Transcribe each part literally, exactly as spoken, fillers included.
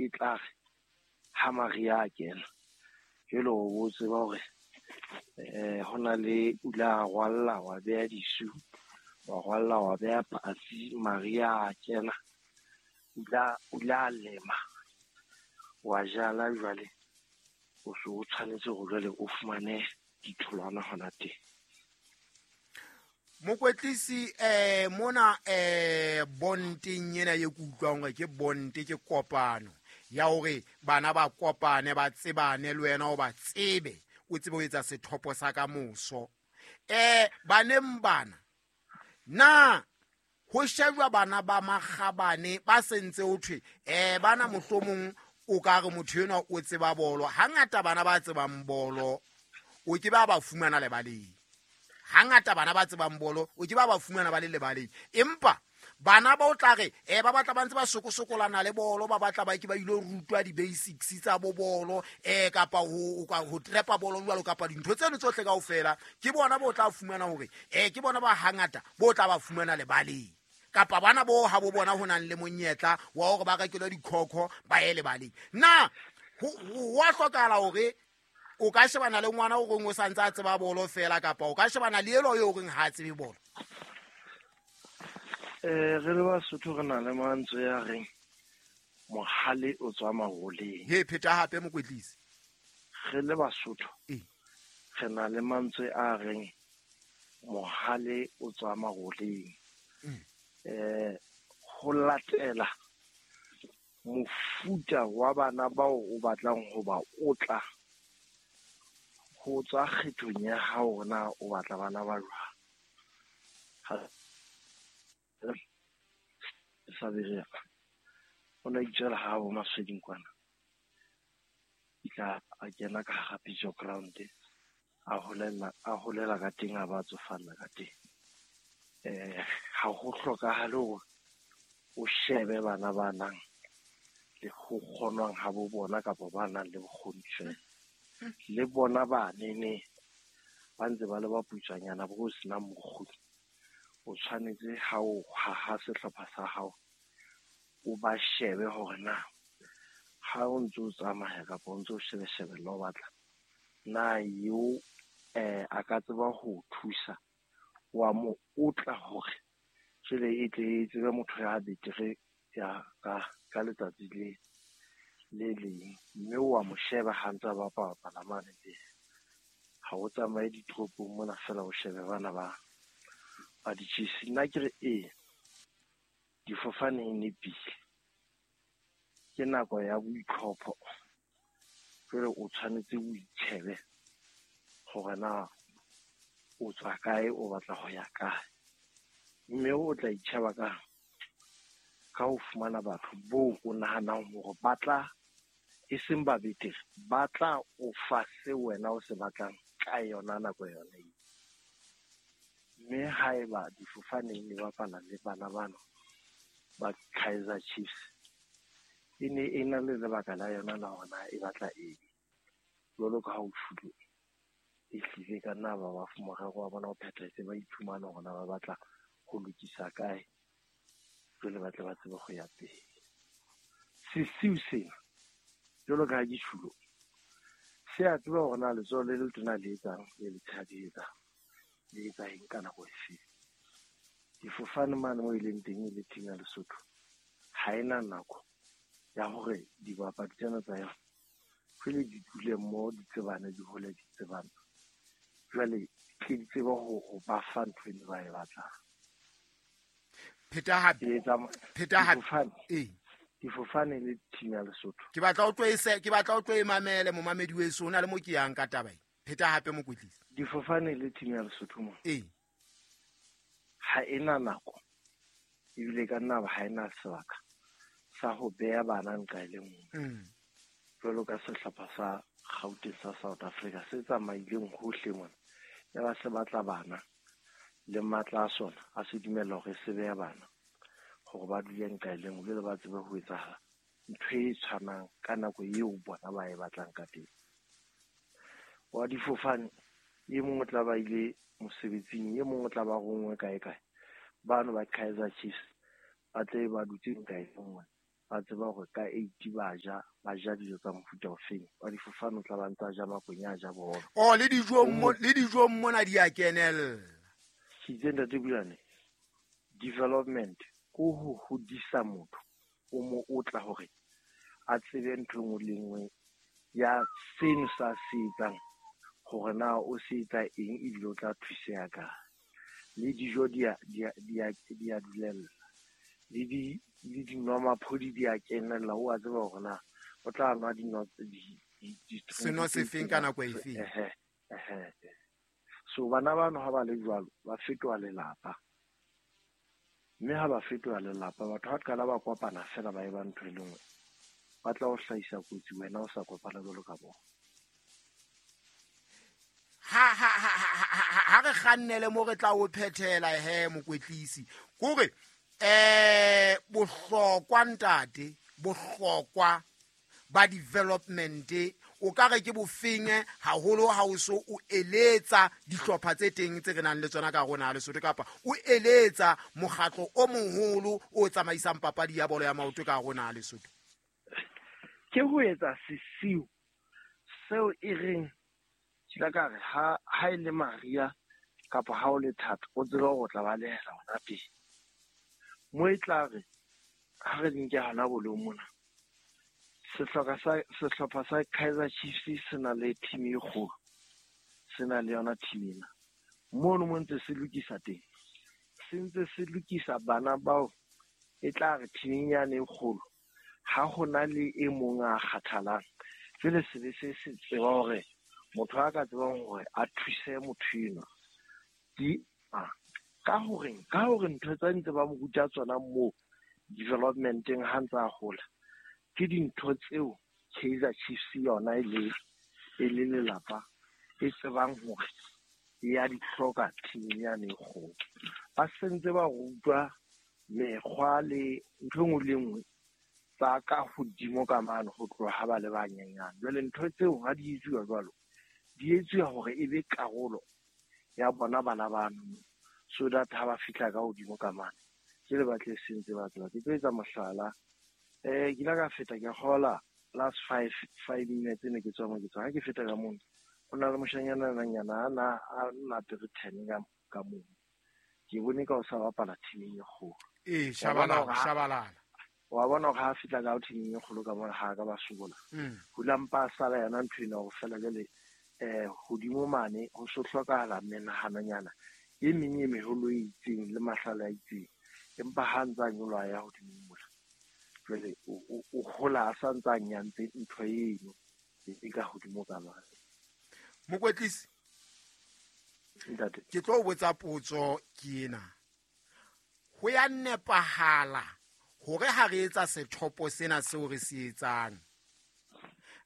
e tla re ha mariha a kena jwale o bo tseba hore eh ho na le o ile a rwalla wa beha disu, wa rwalla wa beha patsi, mariha a kena o ile o ile a lema wa jala jwale o so o tshwanetse hore jwale o fumane ditholwana hona teng. Mokwetlisi eh mona eh bonteng ena ye ke utlwang hore ke bonte ke kopano ya hore bana ba kopane ba tsebane le wena o ba tsebe o tsebe ho etsa sethopo sa ka moso. Eh baneng bana na ho shejwa bana ba makgabane ba sentse ho thwe eh bana mohlomong o ka re motho enwa o tseba bolo. Hangata bana ba tsebang bolo o ke ba ba fumana lebaleng. Hangata bana ba tsebang bolo o ke ba ba fumana ba le lebaleng. Empa bana ba o tla re eh ba batla ba ntse ba sokosokolana le bolo, ba batla ba ke ba ilo rutwa di-basics tsa bo bolo eh kapa ho ho trepa bolo jwalo kapa dintho tseno tsohle kaofela. Ke bona bo tla fumana hore eh ke bona ba hangata bo tla ba fumana lebaleng. Kapa bana bo ha bo bona ho nang le monyetla wa hore ba rekelwe dikhokho ba ye lebaleng. Na ho wa hlokahala hore o ka shebana le ngwana o reng o sa ntse a tseba bolo fela kapa o ka shebana le elo yo reng ha a tsebe bolo? Eh re le Basotho re na le mantswe ya reng mohale o tswa maroleng. He pheta hape mokwetlisi. Re le Basotho e re na le mantswe a reng mohale o tswa maroleng. Mm. Eh ho latela mofuta wa bana bao o batlang ho ba otla ho tswa kgethong ya hao na o batla bana ba jwang. Ha sa berea o na itswela ha bo Masweding kwana itla a kena ka hara pitso ground a holela a holela ka teng a ba tsofalla ka teng. Eh ha ho hlokahale hore o shebe bana ba nang le ho kgonwang ha bo bona kapa ba nang le bokgoni feela. Le bona ba nene ba ntse ba le ba putswanyana bo senang bokgoni. O tshwanetse ha o haha sehlopha sa hao o ba shebe hore na ha o ntse o tsamaya kapa o ntse o shebeshebella o batla na eo eh a ka tseba ho thusa wa mo otla hore jwale e tle e tsebe motho ya betere ya ka ka letsatsi le le leng, mme wa mo sheba ha ntse a bapala mane teng. Ha o tsamaye ditoropong mona fela o shebe bana ba ba di-Chiefs. Nna ke re ee difofane e nepile, ke nako ya boitlhopho jwale o tshwanetse o itjhebe hore na o tswa kae o batla ho ya kae, mme o tla itjheba ka ka ho fumana batho boo o nahanang hore ba tla e seng ba betere ba tla o fa se wena o se batlang ka yona nako yona eo. Mme haeba difofaneng di bapala le bana bano ba Kaizer Chiefs e ne e na le lebaka la yona la hore na e batla eng. Jwalo ka ha o tjholo e hlile ka nna ba ba morero wa bona o phethahetse, ba iphumana hore na ba batla ho lokisa kae jwale ba tle ba tsebe ho ya pele. Sesiu sena jwalo ka ha ke tjhulo se a tseba hore na letsoho le letona le etsang le letshehadi le etsang le etsa eng ka nako efe. Difofane mane moo e leng teng e le team ya Lesotho ha ena nako ya hore dibapadi tsena tsa yona jwale di dule mmoho di tsebane di hole di tsebane jwale tle di tsebe ho ba fa ntho eno ba e batlang. Pheta hape pheta hape e difofane le team ya Lesotho. Ke batla o tlo e ke batla o tlo e mamele momamedi weso o na le mo ke yang ka taba e. Pheta hape mokwetlisi. Difofane le team ya Lesotho mo. E ha ena nako ebile ka nna ha ena sebaka sa ho beha bana nqa e le nngwe. Mm. Jwalo ka sehlopha sa Gauteng sa South Africa se tsamaileng hohle mona ya ba se batla bana le matla a sona a se dumella hore se beha bana hore ba dule nqa e le nngwe jwale ba tsebe ho etsahala ntho e tshwanang ka nako eo bona ba e batlang ka teng. Wa difofane e mong o tla ba ile mosebetsing e mong o tla ba rongwe kae kae bano ba Kaizer Chiefs ba tle ba dutse nqa e nngwe Ba tseba hore ka eight ba ja, ba ja dijo tsa mofuta ofeng. Wa difofane o tla ba ntsa ja makwenya a ja bohobe. Oh, le dijong mo, le dijong mona di a kenella. Ke itse Ntate Bulane, development ko ho hodisa motho, o mo otla hore a tsebe ntho e nngwe le nngwe ya seno sa se etsang, hore na o se etsa eng ebile o tla thuseha kae. Le dijo di a, di a, di a, di a dulella. Le di, le dinwamaphodi di a kenella, o a tseba hore na o tla nwa dino, di, di, di Seno se feng ka nako e feng? Ehe, ehe. So bana bano ha ba le jwalo, ba fetoha lelapa. Mme ha ba fetoha lelapa, batho ha qala ba kopana fela ba eba ntho e le nngwe, ba tla o hlahisa kotsi wena o sa kopana jwalo ka bona. Ha, ha, ha, ha, ha, ha, ha re kgannele mo re tla o phethela he mokwetlisi. Kore, eh, bohlokwa ntate, bohlokwa ba development o ka re ke bofeng haholo ha o so o eletsa dihlopha tse teng tse re nang le tsona ka rona Lesotho, kapa o eletsa mokgatlo o moholo o tsamaisang papadi ya bolo ya maoto ka rona Lesotho? Ke ho etsa sesiu seo e reng ke tla ka re ha, ha e le Maria kapa ha o le thata, o tsebe hore o tla balehela hona teng. Mo e tla re ha re nke hona bolong mona, sehlopha sa, sehlopha sa Kaizer Chiefs se na le team e kgolo, se na le yona team ena. Mono mo ntse se lokisa teng, se ntse se lokisa bana bao e tla re team yane e kgolo ha hona le e mong a kgathalang, jwale se be se se tseba hore motho a ka tsebang hore a thuse motho enwa di a ka horeng, ka hore ntho tsa ntse ba mo ruta tsona moo developmenteng ha ntse a hola, ke dintho tseo Kaizer Chiefs yona e le, e le lelapa e tsebang hore e ya di hloka team yane e kgolo. Ba sentse ba rutwa mekgwa le ntho e nngwe le nngwe tsa ka hodimo ka mane ho tloha ha ba le banyenyane. Jwale ntho tseo ha di etsuwa jwalo, di etsuwa hore e be karolo ya bona bana bano, so that ha ba fihla ka hodimo ka mane ke le batle sentse ba tseba. Ke tlo etsa mohlala, eh, ke ile ka feta ke kgola last five, five minutes ne ke tswa mo ke tswa. Ha ke feta ka mono, ho na le moshanyana nyana a na, a na apere ten ka, ka mono. Ke bone ka o sa bapala teaming e kgolo. Ee, Wa bona shabalala, hore ha shabalala. Wa bona hore ha a fihla ka teaming e kgolo ka mona, ha ka ba sokola. Mm. Hula mpa a sala yona ntho ena hore fela jwale, eh, hodimo mane ho so hlokahala menahanonyana e meng e meholo e itseng le mahlale a itseng, empa ha ntse a nyoloha ya hodimo mola, jwale o, o, o hola a sa ntse a nyantse ntho eno e ka hodimo ka mane. Mokwetlisi, Ntate. ke tlo o botsa potso ke ena. Ho ya nepahala hore ha re etsa sethopo sena seo re se etsang,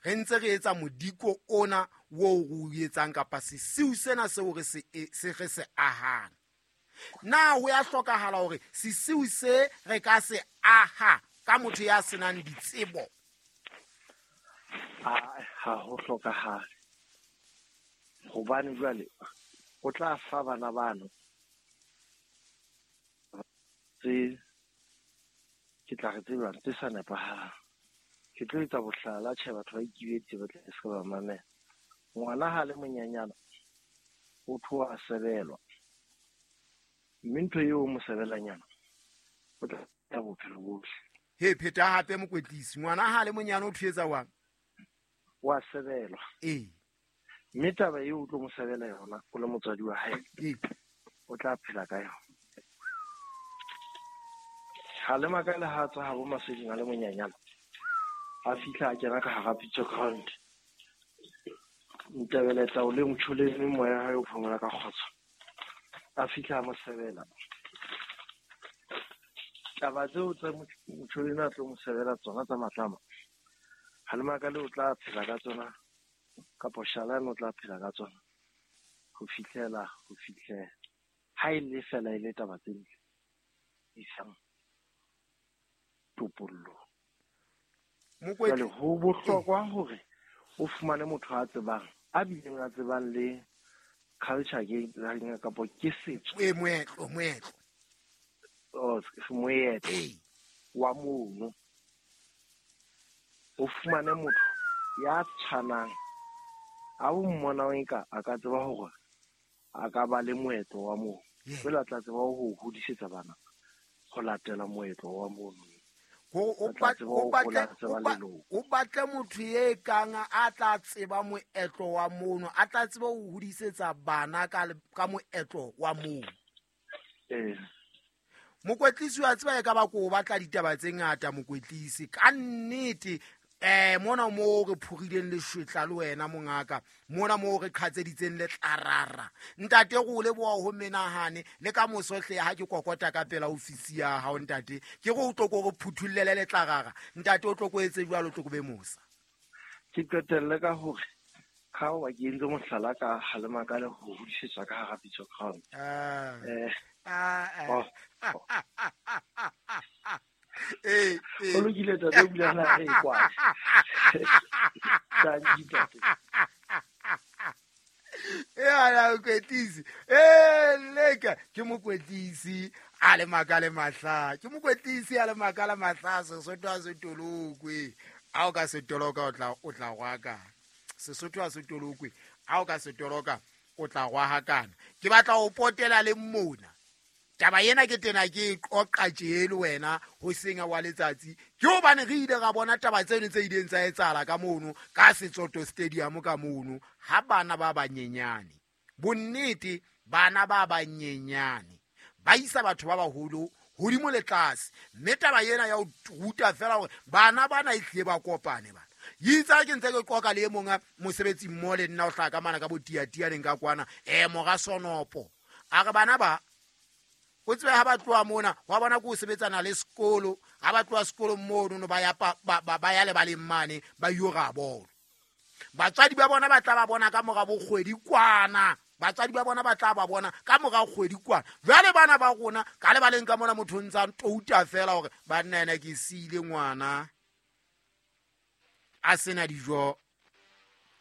re ntse re etsa modiko ona oo re o etsang kapa sesiu sena seo re se e, se re se ahang, na ho ya hlokahala hore sesiu se re ka se aha ka motho ya senang ditsebo? Ha, ha ho hlokahale, hobane jwale o tla fa bana bano tse ke tla re tsebang tse sa nepahalang. Ke tlo etsa bohlala, tjhe, batho ba ikibetse ba tla se ka ba mamela. Ngwana ha le monyenyana o tloha a sebelwa, mme ntho eo o mo sebelanyana o tla ya bophelo bohle. He, pheta hape mokwetlisi, ngwana ha le monyane o thuetsa wang? Wa sebelwa. Ee. Mme taba eo o tlo mo sebela yona o le motswadi wa hae, Ee. o tla phela ka yona. Ha le makale ha tswa habo Maseding a le monyenyana, a fihla a kena ka hara pitso ground. Ntebeleta o le motjholeng moya hae o phomola ka kgotso. A fihla a mo sebela. Taba tseo tsa motjholeng a tlo mo sebela tsona tsa matlama, ha le makale o tla phela ka tsona, kapa Shalane o tla phela ka tsona ho fihlela, ho fihlela. Ha e le fela e le taba tse ntle isang topollong. Mokwetli- Jwale ho bohlokwa hore o fumane motho a tsebang, a bileng a tsebang le culture ke kapa ke setso. E, moetlo, moetlo. Oh, moetlo Ee. wa mono. O fumane motho ya tshwanang a o mmonang eka a ka tseba hore a ka ba le moetlo wa moo. Jwale a tla tseba ho hodisetsa bana ho latela moetlo wa mono. O batle motho e kang a tla tseba moetlo wa mono, a tla tseba ho hodisetsa bana ka ka moetlo wa mono. Eh. Mokwetlisi wa tseba e ka ba ko batla ditaba tse ngata mokwetlisi ka nnete. Eh mona mo re phurileng le shwetla le wena mongaka, mona mo re qhatseditseng le tlarara. Ntate go le boa ho menahane le ka mosohle ha ke kokota ka pela ofisi ya hao ntate, ke go tlo go re phuthullele le tlarara. Ntate o tlo go etse jwalo, tlo go be mosa. Ke qetelle ka hore ha o ke entse mohlala ka halema ka le ho hodisetswa ka hara pitso crown. Ah. Eh. Ah. Eh, eh. O lokile tate, o bula na re kwa. Eh ala mokwetlisi. Eh leka ke mokwetlisi a le makale mahla. Ke mokwetlisi a le makala mahla Sesotho a se tolokwe. A o ka se toloka o tla o tla gwaka. Sesotho a se tolokwe. A o ka se toloka o tla gwa hakana. Ke batla o potela le mona. Taba ena ke tena ke qoqa tje le wena ho senga wa letsatsi. Ke hobane re ile ra bona taba tseno tse ileng tsa etsahala ka mono ka Setsoto Stadium ka mono ha bana ba banyenyane. Bonnete bana ba banyenyane ba isa batho ba baholo hodimo le tlase. Mme taba ena ya ho ruta fela hore bana bana e tle ba kopane bana. Yitsa ke ntse ke qoqa le e mong mosebetsi mmo le nna o hlaka mana ka botiatianeng ka kwana eh mora Sonopo. A re bana ba o tsebe ha ba tloha mona wa bona ko sebetsana le sekolo, ha ba tloha sekolong mono no ba ya ba ya le baleng mane ba yo ra bolo. Batswadi ba bona ba tla ba bona ka mora bokgwedi kwana. Batswadi ba bona ba tla ba bona ka mora kgwedi kwana. Jwale bana ba rona ka le baleng ka mona motho ntsa touta fela hore ba nna ena ke siile ngwana a sena dijo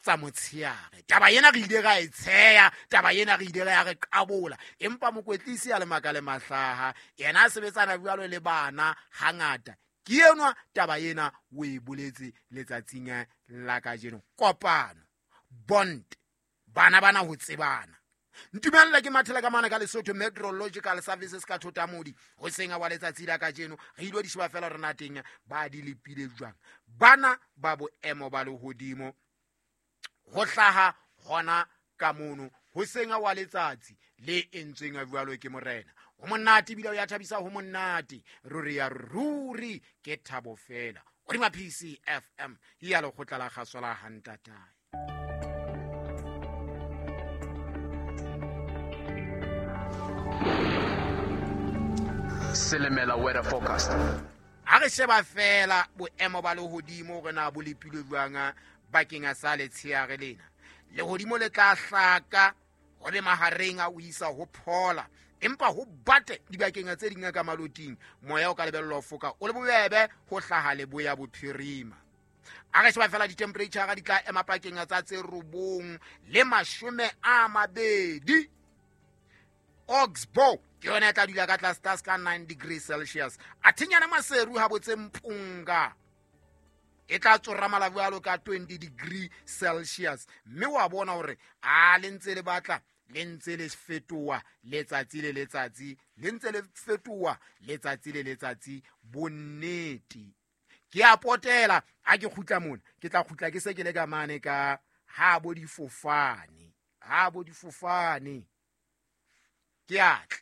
tsa motsheare. Taba ena re ile ra e tsheya, taba ena re ile ra re qabola. Empa mokwetlisi a le makale mahlaha, yena a sebetsana jwalo le bana hangata. Ke enwa taba ena o e boletse letsatsing la kajeno. Kopano, bond, bana bana ho tsebana. Ntumella ke mathela ka mana ka Lesotho Meteorological Services ka Thotamodi ho senga wa letsatsi la kajeno. Re ile di sheba fela rena teng ba di lepile jwang. Bana ba boemo ba lehodimo ho hlaha hona ka mono ho senga wa letsatsi le entsweng a jwalo ke morena. Ho monate ebile o ya thabisa, ho monate ruri ya ruri ke thabo fela. O dima P C F M ya lekgotla la kgaso la hantatae. Selemela weather forecast. Ha re sheba fela boemo ba lehodimo re na bo lepilwe jwang bakeng a sa letsheare lena. Lehodimo le tla hlaka ho be mahareng a o isa ho phola, empa ho bate dibakeng tse ding ka maloting moya o ka lebellwa ho foka o le bobebe ho hlaha leboya bophirima. A re sheba fela di-temperature di tla ema pakeng tsa tse robong le mashome a mabedi. Oxbow ke yona e tla dula ka tlase tlase ka nine degrees Celsius. Athinyana Maseru ha botse Mpunga e tla tsoramala jwalo ka twenty degree Celsius. Mme wa bona hore a le ntse le batla le ntse le fetoha letsatsi le letsatsi, le ntse le fetoha letsatsi le letsatsi. Bonnete ke a potela ha ke kgutla mona, ke tla kgutla ke se ke le ka mane ka ha bo difofane, ha bo difofane ke a tla.